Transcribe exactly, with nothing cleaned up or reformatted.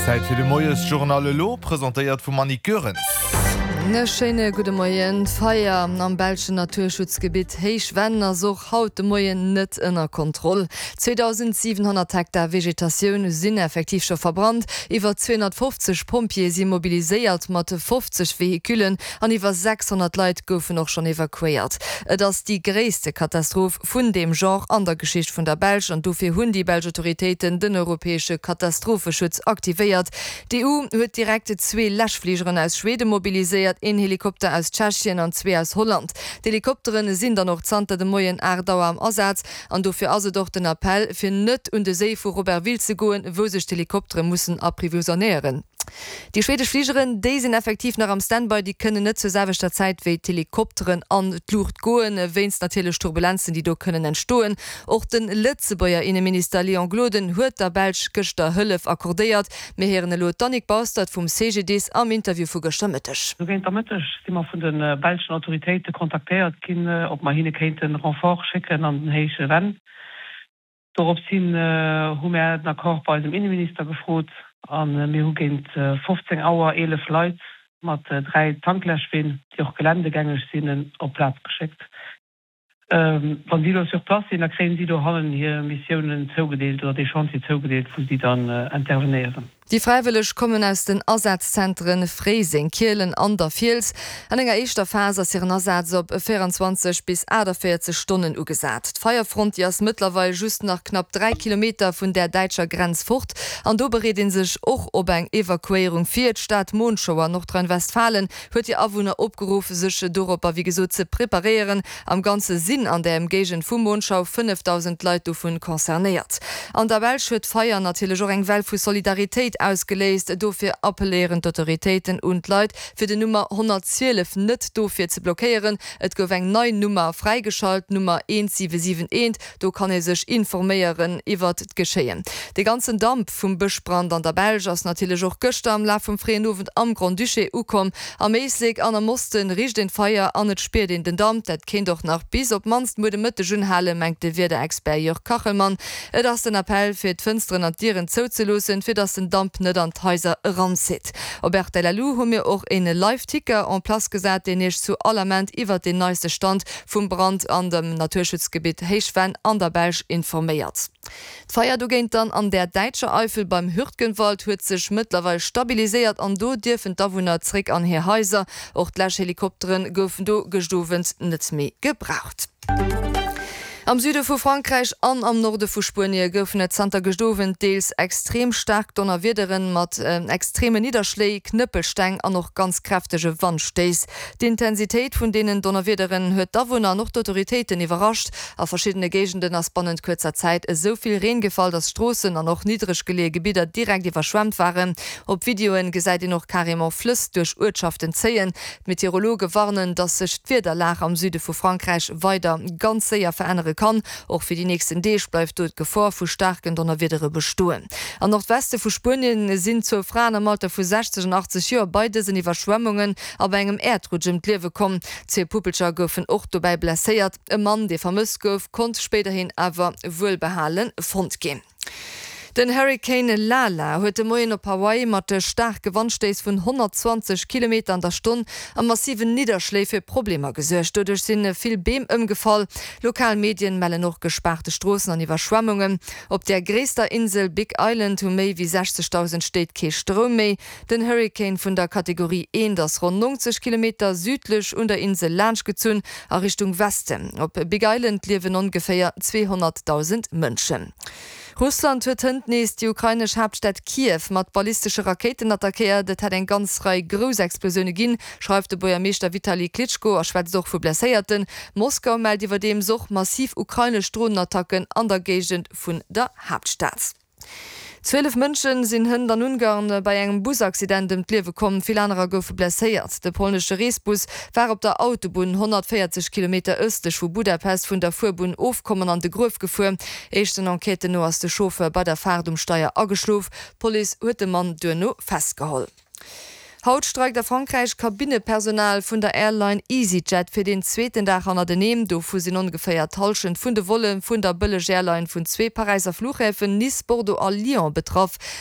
Zäit fir de Moiesjournal elo, presentéiert vum Annick Goerens. E schéine gudde Moien. D'Feier am belschen Naturschutzgebitt Héichvenn ass och haut de Moien net ënner Kontroll. zweedausentsiwenhonnert Hektar Vegetatioun sinn effektiv scho verbrannt, iwwer zweehonnertfofzeg Pompjeeë si mobiliséiert mat fofzeg Vehicullen an iwwer sechshonnert Leit goufen och schonn evakuéiert. Et ass déi gréisste Katastroph vun deem Genre an der Geschicht vun der Belsch an dofir hunn déi belsch Autoritéiten den europäesche Katastropheschutz aktivéiert. D'E U huet direkt zwee Läschfligeren aus Schweden mobiliséiert, een Helikopter aus Tschechien an zwee aus Holland. D'Helikoptere sinn dann och zanter de Moien aacht Auer am Asaz an dofir ass et och den Appell, fir net un de Séi vu Robertville ze goen, wou sech d'Helikoptere mussen apprivoisonéieren. Déi schwedesch Fligeren, déi sinn effektiv nach am Standby, déi kënnen net zur selwechter Zäit wéi d'Helikopteren an d'Luucht goen, wéinst natierlech Turbulenzen, déi do kënnen entstoen. Och de Lëtzebuerger Inneminister Léon Gloden huet der Belsch gëschter Hëllef accordéiert. Mir héieren elo d'Annick Baustert vum C G D I S am Interview vu gëschter Mëtteg. Sou géint der Mëtteg si mer vun de belschen Autoritéite kontaktéiert ginn, ob mer hinne kéinten Renfort schécken an den Héije Venn. Dorops hin hu mär den Accord bei eisem Inneminister gefrot a mir hu géint fofzéng Auer eelef Leit mat dräi Tankläschween, déi och geländegängeg sinn, op d'Plaz geschéckt. Wann si elo sur place sinn, da kréien si dohannen hir Missiounen zougedeelt oder dee Chantier zougedeelt, wou si dann intervenéieren. Déi Fräiwëlleg kommen aus den Asazzentere Fréiseng, Kielen an der Fiels. An enger éischter Phas ass hiren Asaz op véierenzwanzeg bis aachtavéierzeg Stonnen ugesat. D'Feierfront, déi ass mëttlerweil just nach knapp dräi Kilometer vun der däitscher Grenz fort an do bereet ee sech och op eng Evakuéierung vir. D'Stad Monschau an Nordrhein-Westfalen huet hir Awunner opgeruff, sech doropper wéi gesot ze preparéieren. Am Ganze sinn an der Ëmgéigend vu Monschau fënnefdausend Leit dovun concernéiert. An der Belsch huet d'Feier natierlech och eng Well vu Solidaritéit ausgeléist. Dofir appelléieren d'Autoritéiten un d'Leit, fir den Nummer honnertzwielef net dofir ze blockéieren. Et gouf eng nei Nummer fräigeschalt, d'Nummer eent siwe siwen eent, do kann ee sech informéieren iwwert d'Geschéien. De ganzen Damp vum Bëschbrand an der Belsch ass natierlech och gëschter am Laf vum fréien Owend am Grand-Duché ukomm. Am Éislek an am Oste richt een d'Feier an et spiert een den Damp. Dat kéint och nach bis op d'mannst muer de Mëtteg unhalen, mengt de Wiederexpert Jörg Kachelmann. Et ass den Appell, fir d'Fënsteren an d'Dieren zouzeloossen, fir dass den Damp net an d'Haiser eranzitt. Op R T L Lu hu mir och een Live-Ticker en place gesat, deen iech zu all Ament iwwert den neiste Stand vum Brand an dem Naturschutzgebitt Héichvenn an der Belsch informéiert. D'Feier dogéint dann an der däitscher Eifel beim Hürtgenwald huet sech mëttlerweil stabiliséiert an do dierfen d'Awunner zréck an hir Haiser. Och d'Läschhelikoptere goufen do gëscht Owend net méi gebraucht. Am Süde vu Frankräich an am Norde vu Spuenie goufen et zanter gëscht Owend deels extrem staark Donnerwiederen mat extreme Nidderschléi, Knëppelsteng an och ganz kräftege Wandstéiss. D'Intensitéit vun deenen Donnerwiederen huet d'Awunner an och d'Autoritéiten iwwerrascht. A verschiddene Géigenden ass bannent kuerzer Zäit esou vill Reen gefall, datt Stroossen an och niddreg geleeë Gebidder direkt iwwerschwemmt waren. Op Videoe gesäit een och carrément Flëss duerch Uertschaften zéien. D'Meteorologe warnen, datt sech d'Wiederlag am Süde vu Frankräich weider ganz séier verännere kann. Och fir déi nächsten Deeg bleift do d'Gefor vu staarken Donnerwiedere bestoen. Am Nordweste vu Spuenien sinn zwou Fraen am Alter vu sechzeg an achtzeg Joer bei dësen Iwwerschwemmungen a bei engem Äerdrutsch ëm d'Liewe komm. Zwee Puppelcher goufen och dobäi blesséiert. E Mann, dee vermësst gouf, konnt spéiderhin awer wuelbehale fonnt ginn. Den Hurrikan Lala huet de Moien op Hawaii mat staarke Wandstéiss vun honnertzwanzeg Kilometer an der Stonn a massiven Nidderschléi fir Problemer gesuergt. Doduerch si vill Beem ëmgefall. Lokal Medien mellen och gespaarte Stroossen an Iwwerschwemmungen. Op der gréisster Insel Big Island hu méi wéi sechzegdausend Stéit kee Stroum méi. Den Hurrikan vun der Kategorie eent ass ronn nonzeg Kilometer südlech un der Insel laanschtgezunn a Richtung Westen. Op Big Island liewen ongeféier zweehonnertdausend Mënschen. Russland huet hënt nees déi ukrainesch Haaptstad Kiew mat ballistesche Rakéiten attackéiert. Et hätt eng ganz Rei grouss Explosioune ginn, schreift de Buergermeeschter Vitali Klitschko a schwätzt och vu Blesséierten. Moskau mellt iwwerdeems och massiv ukrainesch Dronenattacken an der Géigend vun der Haaptstad. Zwielef Mënsche sinn hënt an Ungarn bei engem Busaccident ëm d'Liewe komm, vill anerer goufe blesséiert. De polnesche Reesbus war op der Autobunn honnertvéierzeg Kilometer ëstlech vu Budapest vun der Fuerbunn ofkomm an an de Gruef gefuer. Éischten Enquêten no ass de Chauffeur bei der Faart um Steier ageschlof. D'Police huet de Mann duerno festgeholl. Haut streikt a Frankräich d'Kabinnepersonal vun der Airline EasyJet fir den zweeten Dag hannerteneen. Dovu sinn ongeféier d'Hallschent vun de Volle vun der Bëlleg-Airline vun zwee Paräisser Fluchhäfen, Nice, Bordeaux a Lyon betraff.